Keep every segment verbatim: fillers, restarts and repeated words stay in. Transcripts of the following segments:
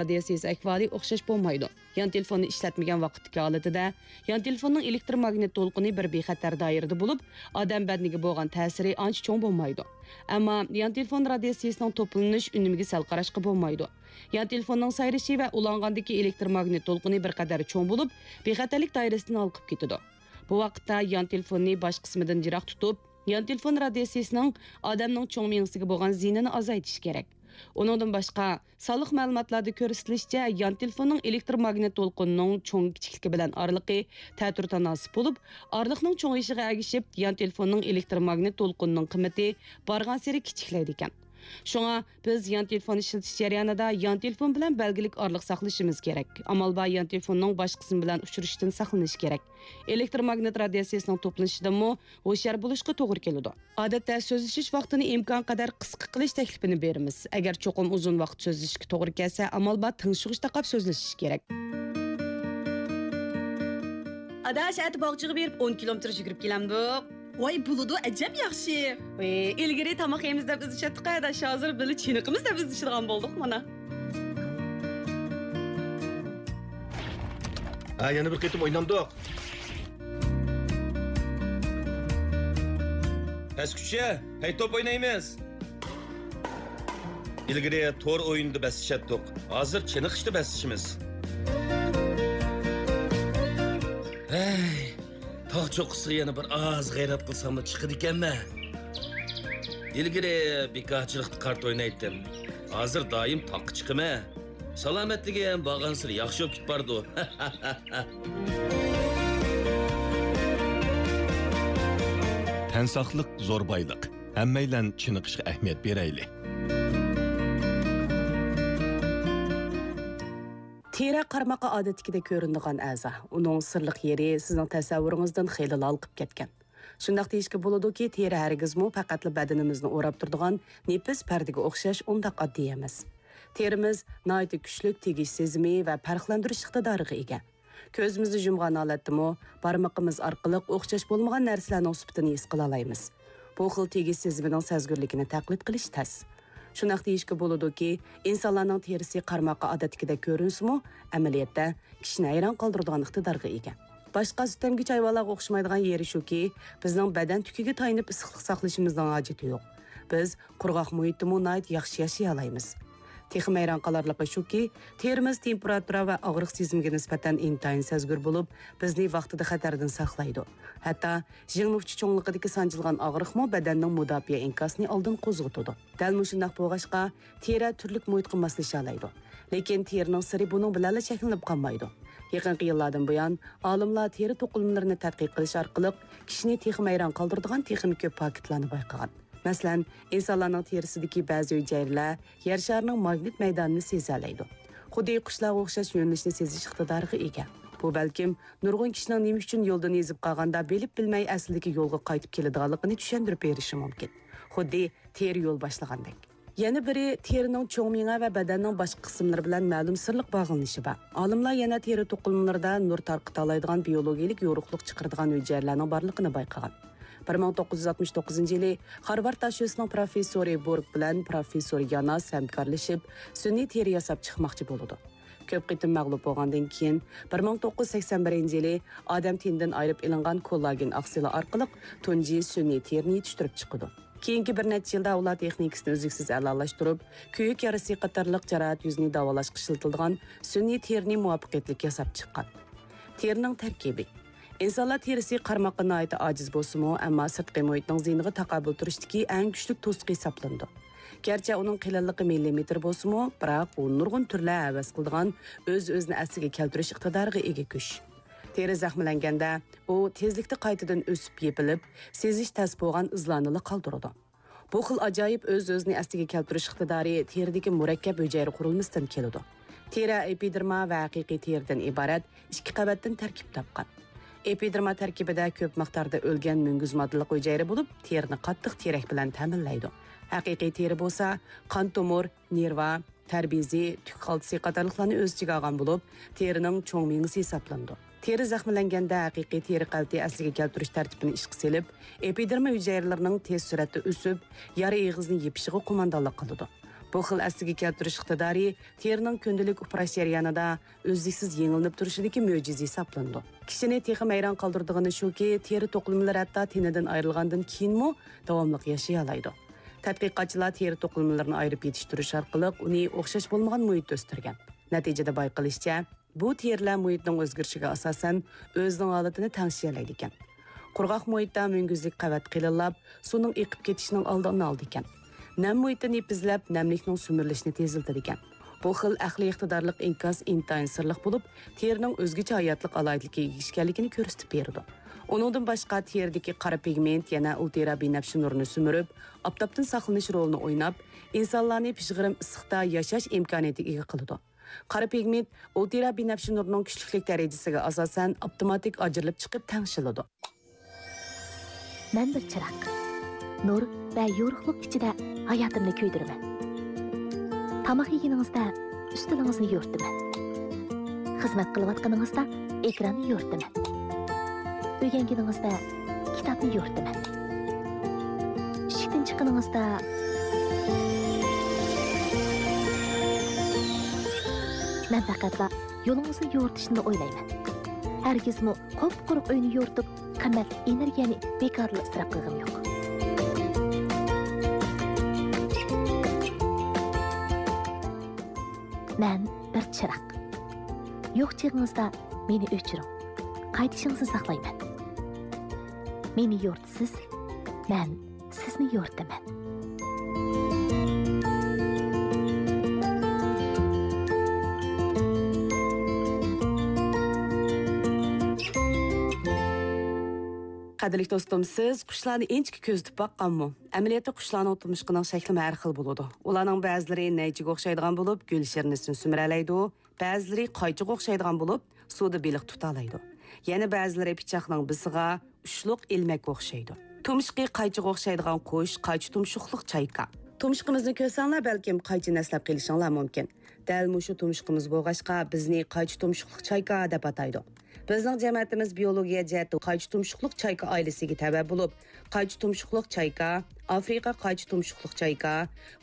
رادىياتسىيىسى ئەھۋالى ئوخشاش بولمايدۇ. يان تېلېفوننى ئىشلەتمىگەن ۋاقىتتىكى ھالىتىدە يان تېلېفوننىڭ ئېلېكتروماگنىت دولقۇنى بىر بىخەتەر دائىرىدە بولۇپ، ئادەم بەدىنىگە بولغان تەسىرى ئانچە چوڭ بولمايدۇ. ئەمما يان تېلېفون رادىياتسىيىسىنىڭ توپلىنىش ئۈنۈمىگە سەل قاراشقا بولمايدۇ. يان تېلېفوننىڭ سايرىشى ۋە ئۇلانغاندىكى ئېلېكتروماگنىت دولقۇنى بىر قەدەر چوڭ بولۇپ، بىخەتەرلىك دائىرىسىدىن ھالقىپ كېتىدۇ. بۇ ۋاقىتتا يان تېلېفوننى باش قىسمىدىن يىراق تۇتۇپ، يان تېلېفون رادىياتسىيىسىنىڭ ئادەمنىڭ چوڭ مېڭىسىگە بولغان زىيىنىنى ئازايتىش كېرەك. ئۇنىڭدىن باشقا، سانلىق مەلۇماتلاردا كۆرسىتىلىشىچە، يان تېلېفوننىڭ ئېلېكتروماگنىت دولقۇنىنىڭ چوڭ-كىچىكلىكى بىلەن ئارىلىقى تەتۈر تاناسىپ بولۇپ، ئارىلىقنىڭ چوڭىيىشىغا ئەگىشىپ، يان تېلېفوننىڭ ئېلېكتروماگنىت دولقۇنىنىڭ قىممىتى بارغانسېرى كىچىكلەيدىكەن. شۇڭا بىز يان تېلېفون ئىشلىتىش جەريانىدا يان تېلېفون بىلەن بەلگىلىك ئارىلىق ساقلىشىمىز كېرەك. ئامال بار يان تېلېفوننىڭ باش قىسمى بىلەن ئۇچرىشىشتىن ساقلىنىش كېرەك. ئېلېكتروماگنىت رادىياتسىيىسىنىڭ توپلىنىشىدىنمۇ ھوشيار بولۇشقا توغرا كېلىدۇ. ئادەتتە سۆزلىشىش ۋاقتىنى ئىمكانقەدەر قىسقا قىلىش تەكلىپىنى بېرىمىز. ئەگەر چوقۇم ئۇزۇن ۋاقىت سۆزلىشىشكە توغرا كەلسە، ئامال بار تىڭشىغۇچ تاقاپ سۆزلىشىش كېرەك. ئاداش، ئەتە باغچىغا بېرىپ ئون كىلومېتىر يۈگۈرۈپ كېلەمدۇق؟ ۋاي، بولىدۇ، ئەجەب ياخشى. ۋاي، ئىلگىرى تاماق يەيمىز دەپ ئىزدىشەتتۇق ئاداش، ھازىر بىللە چېنىقىمىز دەپ ئىزدىشىدىغان بولدۇق مانا. ھە، يەنە بىر قېتىم ئوينامدۇق؟ پەسكۈچە، پەي توپ ئوينايمىز. ئىلگىرى تور ئويۇنىدا بەسلىشەتتۇق. ھازىر چېنىقىشتا بەسلىشىمىز. ھەي، تاغ چوققىسىغا يەنە بىر ئاز غەيرەت قىلساملا چىقىدىكەنمەن. ئىلگىرى بىكارچىلىقتا كارتا ئوينايتتىم. ھازىر دائىم تاغقا چىقىمەن. سالامەتلىكىم بارغانسېرى ياخشى بولۇپ كېتىپ بارىدۇ. تەن ساقلىق زور بايلىق. ھەممەيلەن چېنىقىشقا ئەھمىيەت بېرەيلى. تېرە قارىماققا ئادەتتىكىدەك كۆرۈنىدىغان ئەزا. ئۇنىڭ سىرلىق يېرى سىزنىڭ تەسەۋۋۇرىڭىزدىن خېلىلا ھالقىپ كەتكەن. شۇنداق دېيىشكە بولىدۇكى، تېرە ھەرگىزمۇ پەقەتلا بەدىنىمىزنى ئوراپ تۇرىدىغان نېپىز پەردىگە ئوخشاش ئۇنداق ئاددىي ئەمەس. تېرىمىز ناھايىتى كۈچلۈك تېگىش سېزىمى ۋە پەرقلەندۈرۈش ئىقتىدارىغا ئىگە. كۆزىمىزنى يۇمغان ھالەتتىمۇ بارمىقىمىز ئارقىلىق ئوخشاش بولمىغان نەرسىلەرنىڭ سۈپىتىنى ھېس قىلالايمىز. بۇ خىل تېگىش سېزىمىنىڭ سەزگۈرلۈكىنى تەقلىد قىلىش تەس. شۇنداق دېيىشكە بولىدۇكى، ئىنسانلارنىڭ تېرىسى قارىماققا ئادەتتىكىدەك كۆرۈنسىمۇ، ئەمەلىيەتتە كىشىنى ھەيران قالدۇرىدىغان ئىقتىدارغا ئىگە. باشقا سۈتەمگۈچى ھايۋانلارغا ئوخشىمايدىغان يېرى شۇكى، بىزنىڭ بەدەن تۈكىگە تايىنىپ ئىسسىقلىق ساقلىشىمىزنىڭ ھاجىتى يوق. بىز قۇرغاق مۇھىتتىمۇ ناھايىتى ياخشى ياشىيالايمىز. تېخىمۇ ھەيران قالارلىقى شۇكى، تېرىمىز تېمپېراتۇرا ۋە ئاغرىق سېزىمىگە نىسبەتەن ئىنتايىن سەزگۈر بولۇپ، بىزنى ۋاقتىدا خەتەردىن ساقلايدۇ. ھەتتا ژىڭنە ئۇچى چوڭلۇقىدىكى سانجىلغان ئاغرىقمۇ بەدەننىڭ مۇداپىئە ئىنكاسىنى ئالدىن قوزغىتىدۇ. دەل مۇشۇنداق بولغاچقا، تېرە تۈرلۈك مۇھىتقا ماسلىشالايدۇ. لېكىن تېرىنىڭ سىرى بۇنىڭ بىلەنلا چەكلىنىپ قالمايدۇ. يېقىنقى يىللاردىن بۇيان، ئالىملار تېرە توقۇلمىلىرىنى تەتقىق قىلىش ئارقىلىق كىشىنى تېخىمۇ ھەيران قالدۇرىدىغان تېخىمۇ كۆپ پاكىتلارنى بايقىغان. مەسىلەن، ئىنسانلارنىڭ تېرىسىدىكى بەزى ھۈجەيرىلەر يەر شارىنىڭ ماگنىت مەيدانىنى سېزەلەيدۇ. خۇددى قۇشلارغا ئوخشاش يۆنىلىشنى سېزىش ئىقتىدارىغا ئىگە. بۇ بەلكىم نۇرغۇن كىشىنىڭ نېمە ئۈچۈن يولدىن ئېزىپ قالغاندا بىلىپ بىلمەي ئەسلىدىكى يولغا قايتىپ كېلىدىغانلىقىنى چۈشەندۈرۈپ بېرىشى مۇمكىن. خۇددى تېرە يول باشلىغاندەك. يەنە بىرى، تېرىنىڭ چوڭ مېڭە ۋە بەدەننىڭ باشقا قىسىملىرى بىلەن مەلۇم سىرلىق باغلىنىشى بار. ئالىملار يەنە تېرە توقۇلمىلىرىدا نۇر تارقىتالايدىغان بىيولوگىيىلىك يورۇقلۇق چىقىرىدىغان ھۈجەيرىلەرنىڭ بارلىقىنى بايقىغان. بىر مىڭ توققۇز يۈز ئاتمىش توققۇزىنچى يىلى خارۋارد داشۆسىنىڭ پروفېسسورى بورگ بىلەن پروفېسسور ياناس ھەمكارلىشىپ، سۈنئىي تېرە ياساپ چىقماقچى بولىدۇ. كۆپ قېتىم مەغلۇپ بولغاندىن كېيىن، بىر مىڭ توققۇز يۈز سەكسەن بىرىنچى يىلى ئادەم تېنىدىن ئايرىپ ئېلىنغان كوللاگېن ئاقسىلى ئارقىلىق تۇنجى سۈنئىي تېرىنى يېتىشتۈرۈپ چىقىدۇ. كېيىنكى بىر نەچچە يىلدا ئۇلار تېخنىكىسىنى ئۈزلۈكسىز ئەلالاشتۇرۇپ، كۆيۈك يارىسى قاتارلىق جاراھەت يۈزىنى داۋالاشقا ئىشلىتىلىدىغان سۈنئىي تېرىنى مۇۋەپپەقىيەتلىك ياساپ چىققان. تېرىنىڭ تەركىبى. ئىنسانلار تېرىسى قارىماققا ناھايىتى ئاجىز بولسىمۇ، ئەمما سىرتقى مۇھىتنىڭ زىيىنىغا تاقابىل تۇرۇشتىكى ئەڭ كۈچلۈك توسۇق ھېسابلىنىدۇ. گەرچە ئۇنىڭ قېلىنلىقى مىللىمېتىر بولسىمۇ، بىراق ئۇ نۇرغۇن تۈرلەر ھەۋەس قىلىدىغان ئۆز-ئۆزىنى ئەسلىگە كەلتۈرۈش ئىقتىدارىغا ئىگە گۆش. تېرە زەخىملەنگەندە، ئۇ تېزلىكتە قايتىدىن ئۆسۈپ يېپىلىپ، سېزىش تەس بولغان ئىزلارنىلا قالدۇرىدۇ. بۇ خىل ئاجايىپ ئۆز-ئۆزىنى ئەسلىگە كەلتۈرۈش ئىقتىدارى تېرىدىكى مۇرەككەپ ھۈجەيرە قۇرۇلمىسىدىن كېلىدۇ. تېرە ئېپىدېرما ۋە ھەقىقىي تېرىدىن ئىبارەت ئىككى قەۋەتتىن تەركىب تاپقان. ئېپىدېرما تەركىبىدە كۆپ مىقداردا ئۆلگەن مۈڭگۈز ماددىلىق ھۈجەيرە بولۇپ، تېرىنى قاتتىق تېرەك بىلەن تەمىنلەيدۇ. ھەقىقىي تېرە بولسا قان تومۇر، نېرۋا، تەر بېزى، تۈك خالتىسى قاتارلىقلارنى ئۆز ئىچىگە ئالغان بولۇپ، تېرىنىڭ چوڭ مېڭىسى ھېسابلىنىدۇ. تېرە زەخىملەنگەندە ھەقىقىي تېرە قەۋىتى ئەسلىگە كەلتۈرۈش تەرتىپىنى ئىشقا سېلىپ، ئېپىدېرما ھۈجەيرىلىرىنىڭ تېز سۈرئەتتە ئۆسۈپ، يارا ئېغىزىنى يېپىشىغا قوماندانلىق قىلىدۇ. بۇ خىل ئەسلىگە كەلتۈرۈش ئىقتىدارى تېرىنىڭ كۈندىلىك ئۇپراش جەريانىدا ئۈزلۈكسىز يېڭىلىنىپ تۇرۇشىدىكى مۆجىزە ھېسابلىنىدۇ. كىشىنى تېخى ھەيران قالدۇرىدىغىنى شۇكى، تېرە توقۇلمىلىرى ھەتتا تېنىدىن ئايرىلغاندىن كېيىنمۇ داۋاملىق ياشىيالايدۇ. تەتقىقاتچىلار تېرە توقۇلمىلىرىنى ئايرىپ يېتىشتۈرۈش ئارقىلىق ئۇنى ئوخشاش بولمىغان مۇھىتتا ئۆستۈرگەن. نەتىجىدە بايقىلىشىچە، بۇ تېرىلەر مۇھىتنىڭ ئۆزگىرىشىگە ئاساسەن ئۆزىنىڭ ھالىتىنى تەڭشىيەلەيدىكەن. قۇرغاق مۇھىتتا مۈڭگۈزلۈك قەۋەت قېلىنلاپ، سۇنىڭ ئېقىپ كېتىشىنىڭ ئالدىنى ئالىدىكەن. نەم مۇھىتتا نېپىزلەپ، نەملىكنىڭ سۈمۈرۈلۈشىنى تېزلىتىدىكەن. بۇ خىل ئەقلىي ئىقتىدارلىق ئىنكاس ئىنتايىن سىرلىق بولۇپ، تېرىنىڭ ئۆزگىچە ھاياتلىق ئالاھىدىلىكىگە ئىگە ئىكەنلىكىنى كۆرسىتىپ بېرىدۇ. ئۇنىڭدىن باشقا، تېرىدىكى قارا پىگمېنت يەنە ئۇلترا بىنەپشە نۇرىنى سۈمۈرۈپ، ئاپتاپتىن ساقلىنىش رولىنى ئويناپ، ئىنسانلارنى پىژغىرىم ئىسسىقتا ياشاش ئىمكانىيىتىگە ئىگە قىلىدۇ. قارا پىگمېنت ئۇلترا بىنەپشە نۇرىنىڭ كۈچلۈكلۈك دەرىجىسىگە ئاساسەن ئاپتوماتىك ئاجرىلىپ چىقىپ تەڭشىلىدۇ. مەن بىر چىراغ. نۇر ۋە يورۇقلۇق ئىچىدە ھاياتىمنى كۆيدۈرىمەن. تاماق يېگىنىڭىزدە ئۈستىلىڭىزنى يورۇتىمەن. خىزمەت قىلىۋاتقىنىڭىزدا ئېكراننى يورۇتىمەن. ئۆگەنگىنىڭىزدە كىتابنى يورۇتىمەن. ئىشىكتىن چىققىنىڭىزدا مەن پەقەتلا يولىڭىزنى يورۇتۇشنىلا ئويلايمەن. ھەرگىزمۇ قۇپقۇرۇق ئۆينى يورۇتۇپ، قىممەتلىك ئېنېرگىيەنى بىكارلا ئىسراپ قىلغىنىم يوق. مەن بىر چىراغ. يوق چېغىڭىزدا مېنى ئۆچۈرۈڭ. قايتىشىڭىزنى ساقلايمەن. مېنى يورۇتىسىز، مەن سىزنى يورۇتىمەن. قەدىرلىك دوستۇم، سىز قۇشلارنى ئىنچىكە كۆزىتىپ باققانمۇ؟ ئەمەلىيەتتە قۇشلارنىڭ تۇمشۇقىنىڭ شەكلىمۇ ھەر خىل بولىدۇ. ئۇلارنىڭ بەزىلىرى نەيچىگە ئوخشايدىغان بولۇپ، گۈل شىرنىسىنى سۈمۈرەلەيدۇ. بەزىلىرى قايچىغا ئوخشايدىغان بولۇپ، سۇدا بېلىق تۇتالايدۇ. يەنە بەزىلىرى پىچاقنىڭ بىسىغا، ئۇچلۇق ئىلمەككە ئوخشايدۇ. تۇمشۇقى قايچىغا ئوخشايدىغان قۇش، قايچا تۇمشۇقلۇق چايكا. تۇمشۇقىمىزنى كۆرسەڭلار، بەلكىم قايچىنى ئەسلەپ قېلىشىڭلار مۇمكىن. دەل مۇشۇ تۇمشۇقىمىز بولغاچقا، بىزنى قايچا تۇمشۇقلۇق چايكا دەپ ئاتايدۇ. بىزنىڭ جەمەتىمىز بىيولوگىيە جەھەتتە قايچا تۇمشۇقلۇق چايكا ئائىلىسىگە تەۋە بولۇپ، قايچا تۇمشۇقلۇق چايكا، ئافرىقا قايچا تۇمشۇقلۇق چايكا،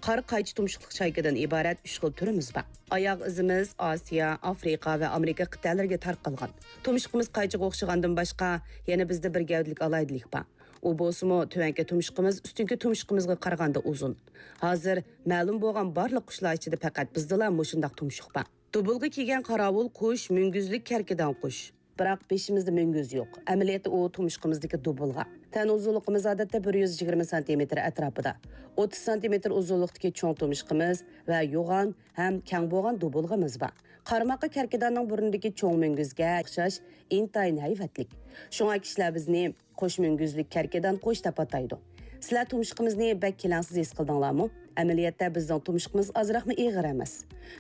قارا قايچا تۇمشۇقلۇق چايكىدىن ئىبارەت ئۈچ خىل تۈرىمىز بار. ئاياغ ئىزىمىز ئاسىيا، ئافرىقا ۋە ئامېرىكا قىتئەلىرىگە تارقالغان. تۇمشۇقىمىز قايچىغا ئوخشىغاندىن باشقا، يەنە بىزدە بىر گەۋدىلىك ئالاھىدىلىك بار. ئۇ بولسىمۇ، تۆۋەنكى تۇمشۇقىمىز ئۈستۈنكى تۇمشۇقىمىزغا قارىغاندا ئۇزۇن. ھازىر مەلۇم بولغان بارلىق قۇشلار ئىچىدە پەقەت بىزدىلا مۇشۇنداق تۇمشۇق بار. دۇبۇلغا كىيگەن قاراۋۇل قۇش مۈڭگۈزلۈك كەركىدان قۇش. بىراق بېشىمىزدا مۈڭگۈز يوق. ئەمەلىيەتتە ئۇ تۇمشۇقىمىزدىكى دۇبۇلغا. تەن ئۇزۇنلۇقىمىز ئادەتتە بىر يۈز يىگىرمە سانتىمېتىر ئەتراپىدا. ئوتتۇز سانتىمېتىر ئۇزۇنلۇقتىكى چوڭ تۇمشۇقىمىز ۋە يوغان ھەم كەڭ بولغان دۇبۇلغىمىز بار. قارىماققا كەركىداننىڭ بۇرنىدىكى چوڭ مۈڭگۈزگە ئوخشاش ئىنتايىن ھەيۋەتلىك. شۇڭا كىشىلەر بىزنى قوش مۈڭگۈزلۈك كەركىدان قوش دەپ ئاتايدۇ. سىلەر تۇمشۇقىمىزنى بەك كېلەڭسىز ھېس قىلدىڭلارمۇ؟ ئەمەلىيەتتە بىزنىڭ تۇمشۇقىمىز ئازراقمۇ ئېغىر ئەمەس.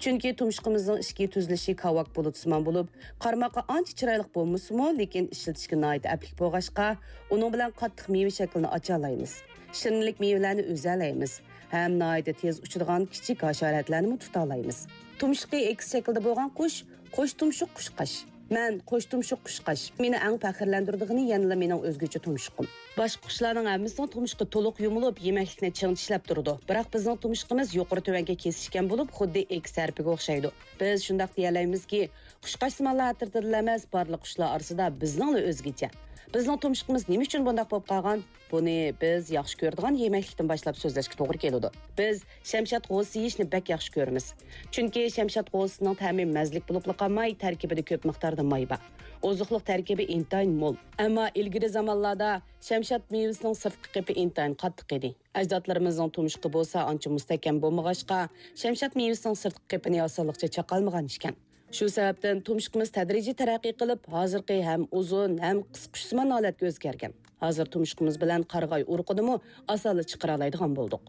چۈنكى تۇمشۇقىمىزنىڭ ئىچكى تۈزۈلۈشى كاۋاك بۇلۇتىسىمان بولۇپ، قارىماققا ئانچە چىرايلىق بولمىسىمۇ، لېكىن ئىشلىتىشكە ناھايىتى ئەپلىك بولغاچقا، ئۇنىڭ بىلەن قاتتىق مېۋە شەكلىنى ئاچالايمىز. شىرنىلىك مېۋىلەرنى ئۈزەلەيمىز ھەم ناھايىتى تېز ئۇچىدىغان كىچىك ھاشاراتلارنىمۇ تۇتالايمىز. تۇمشۇقى ئېكس شەكلىدە بولغان قۇش، قوش تۇمشۇق قۇشقاچ. مەن قوش تۇمشۇق قۇشقاچ. مېنى ئەڭ پەخىرلەندۈرىدىغىنى يەنىلا مېنىڭ ئۆزگىچە تۇمشۇقۇم. باشقا قۇشلارنىڭ ھەممىسىنىڭ تۇمشۇقى تولۇق يۇمۇلۇپ، يېمەكلىكنى چىڭ چىشلەپ تۇرىدۇ. بىراق بىزنىڭ تۇمشۇقىمىز يۇقىرى تۆۋەنگە كېسىشكەن بولۇپ، خۇددى ئېكس ھەرپىگە ئوخشايدۇ. بىز شۇنداق دېيەلەيمىزكى، قۇشقاچسىمانلار ئەترىتىدىلا ئەمەس، بارلىق قۇشلار ئارىسىدا بىزنىڭلا ئۆزگىچە. بىزنىڭ تۇمشۇقىمىز نېمە ئۈچۈن بۇنداق بولۇپ قالغان؟ بۇنى بىز ياخشى كۆرىدىغان يېمەكلىكتىن باشلاپ سۆزلەشكە توغرا كېلىدۇ. بىز شەمشاد غوزىسى يېيىشنى بەك ياخشى كۆرىمىز. چۈنكى شەمشاد غوزىسىنىڭ تەمى مەززىلىك بولۇپلا قالماي، تەركىبىدە كۆپ مىقداردا ماي بار. ئوزۇقلۇق تەركىبى ئىنتايىن مول. ئەمما ئىلگىرى زامانلاردا شەمشاد مېۋىسىنىڭ سىرتقى قېپى ئىنتايىن قاتتىق ئىدى. ئەجدادلىرىمىزنىڭ تۇمشۇقى بولسا ئانچە مۇستەھكەم بولمىغاچقا، شەمشاد مېۋىسىنىڭ سىرتقى قېپىنى ئاسانلىقچە چاقالمىغان ئىكەن. شۇ سەۋەبتىن تۇمشۇقىمىز تەدرىجىي تەرەققىي قىلىپ، ھازىرقى ھەم ئۇزۇن، ھەم قىسقا قۇشسىمان ھالەتكە ئۆزگەرگەن. ھازىر تۇمشۇقىمىز بىلەن قارىغاي ئۇرۇقىنىمۇ ئاسانلا چىقىرالايدىغان بولدۇق.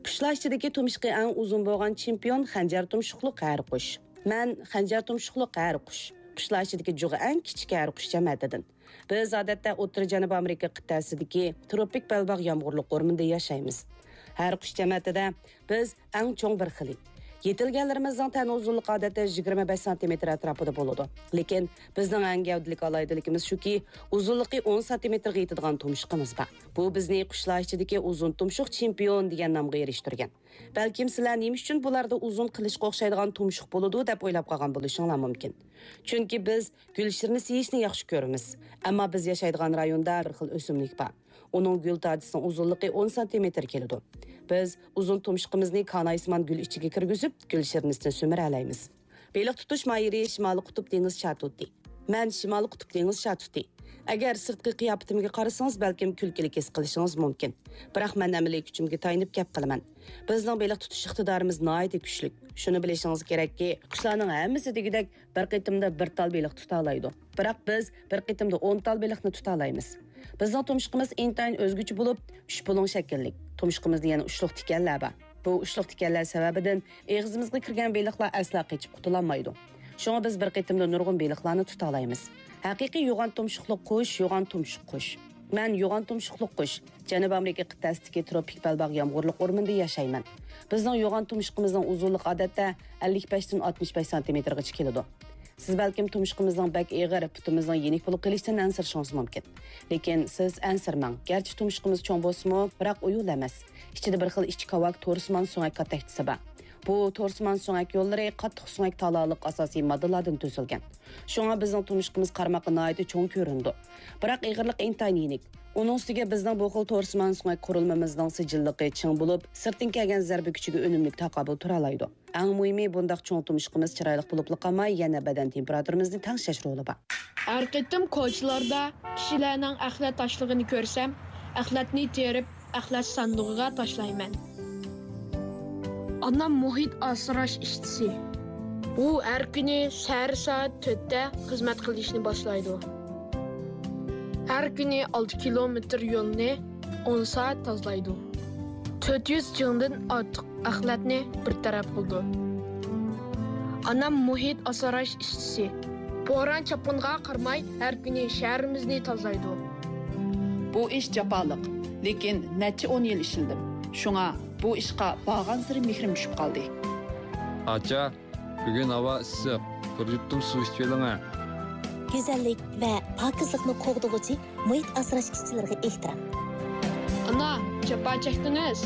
قۇشلار ئىچىدىكى تۇمشۇقى ئەڭ ئۇزۇن بولغان چېمپىيون خەنجەر تۇمشۇقلۇق ھەرە قۇش. مەن خەنجەر تۇمشۇقلۇق ھەرە قۇش. قۇشلار ئىچىدىكى جۇغى ئەڭ كىچىك ھەرە قۇش جەمەتىدىن. بىز ئادەتتە ئوتتۇرا جەنۇبىي ئامېرىكا قىتئەسىدىكى تروپىك بەلباغ يامغۇرلۇق ئورمىنىدا ياشايمىز. ھەرە قۇش جەمەتىدە بىز ئەڭ چوڭ بىر خىلى. يېتىلگەنلىرىمىزنىڭ تەن ئۇزۇنلۇقى ئادەتتە يىگىرمە بەش سانتىمېتىر ئەتراپىدا بولىدۇ. لېكىن بىزنىڭ ئەڭ گەۋدىلىك ئالاھىدىلىكىمىز شۇكى، ئۇزۇنلۇقى ئون سانتىمېتىرغا يېتىدىغان تۇمشۇقىمىز بار. بۇ بىزنى قۇشلار ئىچىدىكى ئۇزۇن تۇمشۇق چېمپىيون دېگەن نامغا ئېرىشتۈرگەن. بەلكىم سىلەر نېمە ئۈچۈن بۇلاردا ئۇزۇن قىلىچقا ئوخشايدىغان تۇمشۇق بولىدۇ دەپ ئويلاپ قالغان بولۇشۇڭلار مۇمكىن. چۈنكى بىز گۈل شىرنىسى يېيىشنى ياخشى كۆرىمىز. ئەمما بىز ياشايدىغان رايوندا بىر خىل ئۆسۈملۈك بار. ئۇنىڭ گۈل تاجىسىنىڭ ئۇزۇنلۇقى ئون سانتىمېتىر كېلىدۇ. بىز ئۇزۇن تۇمشۇقىمىزنى كانايسىمان گۈل ئىچىگە كىرگۈزۈپ، گۈل شىرنىسىنى سۈمۈرەلەيمىز. بېلىق تۇتۇش ماھىرى شىمالىي قۇتۇپ دېڭىز شاتۇتى. مەن شىمالىي قۇتۇپ دېڭىز شاتۇتى. ئەگەر سىرتقى قىياپىتىمگە قارىسىڭىز، بەلكىم كۈلكىلىك ھېس قىلىشىڭىز مۇمكىن. بىراق مەن ئەمەلىي كۈچۈمگە تايىنىپ گەپ قىلىمەن. بىزنىڭ بېلىق تۇتۇش ئىقتىدارىمىز ناھايىتى كۈچلۈك. شۇنى بىلىشىڭىز كېرەككى، قۇشلارنىڭ ھەممىسى دېگۈدەك بىر قېتىمدا بىر تال بېلىق تۇتالايدۇ. بىراق بىز بىر قېتىمدا ئون تال بېلىقنى تۇتالايمىز. بىزنىڭ تۇمشۇقىمىز ئىنتايىن ئۆزگىچە بولۇپ، ئۈچ بۇلۇڭ شەكىللىك. تۇمشۇقىمىزدا يەنە ئۇچلۇق تىكەنلەر بار. بۇ ئۇچلۇق تىكەنلەر سەۋەبىدىن ئېغىزىمىزغا كىرگەن بېلىقلار ئەسلا قېچىپ قۇتۇلالمايدۇ. شۇڭا بىز بىر قېتىمدا نۇرغۇن بېلىقلارنى تۇتالايمىز. ھەقىقىي يوغان تۇمشۇقلۇق قۇش، يوغان تۇمشۇق قۇش. مەن يوغان تۇمشۇقلۇق قۇش. جەنۇبىي ئامېرىكا قىتئەسىدىكى تروپىك بەلباغ يامغۇرلۇق ئورمىنىدا ياشايمەن. بىزنىڭ يوغان تۇمشۇقىمىزنىڭ ئۇزۇنلۇقى ئادەتتە ئەللىك بەشتىن ئاتمىش بەش سانتىمېتىرغىچە كېلىدۇ. سىز بەلكىم تۇمشۇقىمىزنىڭ بەك ئېغىر، پۇتىمىزنىڭ يېنىك بولۇپ قېلىشىدىن ئەنسىرىشىڭىز مۇمكىن. لېكىن سىز ئەنسىرىمەڭ، گەرچە تۇمشۇقىمىز چوڭ بولسىمۇ، بىراق ئۇيۇل ئەمەس. ئىچىدە بىر خىل ئىچكى كاۋاك تورسىمان سۆڭەك كاتەكچىسى بار. بۇ تورسىمان سۆڭەك يوللىرى قاتتىق سۆڭەك تالالىق ئاساسىي ماددىلاردىن تۈزۈلگەن. شۇڭا بىزنىڭ تۇمشۇقىمىز قارىماققا ناھايىتى چوڭ كۆرۈنىدۇ. بىراق ئېغىرلىقى ئىنتايىن يېنىك. ئۇنىڭ ئۈستىگە بىزنىڭ بۇ خىل تورسىمان سۆڭەك قۇرۇلمىمىزنىڭ سىجىللىقى چىڭ بولۇپ، سىرتتىن كەلگەن زەربە كۈچىگە ئۈنۈملۈك تاقابىل تۇرالايدۇ. ئەڭ مۇھىمى، بۇنداق چوڭ تۇمشۇقىمىز چىرايلىق بولۇپلا قالماي، يەنە بەدەن تېمپېراتۇرىمىزنى تەڭشەش رولى بار. ھەر قېتىم كوچىلاردا كىشىلەرنىڭ ئەخلەت تاشلىغىنى كۆرسەم، ئەخلەتنى تېرىپ، ئەخلەت ساندۇقىغا تاشلايمەن. ئانام مۇھىت ئاسراش ئىشچىسى. ئۇ ھەر كۈنى سەھەر سائەت تۆتتە خىزمەت قىلىشنى باشلايدۇ. ھەر كۈنى ئالتە كىلومېتىر يولنى ئون سائەت تازىلايدۇ. تۆت يۈز جىڭدىن ئارتۇق ئەخلەتنى بىر تەرەپ قىلىدۇ. ئانام مۇھىت ئاسراش ئىشچىسى. بوران چاپقۇنغا قارىماي، ھەر كۈنى شەھىرىمىزنى تازىلايدۇ. بۇ ئىش جاپالىق، لېكىن نەچچە ئون يىل ئىشلىدىم. شۇڭا بۇ ئىشقا بارغانسېرى مېھرىم چۈشۈپ قالدى. ئاچا، بۈگۈن ھاۋا ئىسسىق، بىر يۇتۇم سۇ ئىچىۋېلىڭە. گۈزەللىك ۋە پاكىزلىقنى قوغدىغۇچى مۇھىت ئاسراش ئىشچىلىرىغا ئېھتىرام. ئانا، جاپا چەكتىڭىز.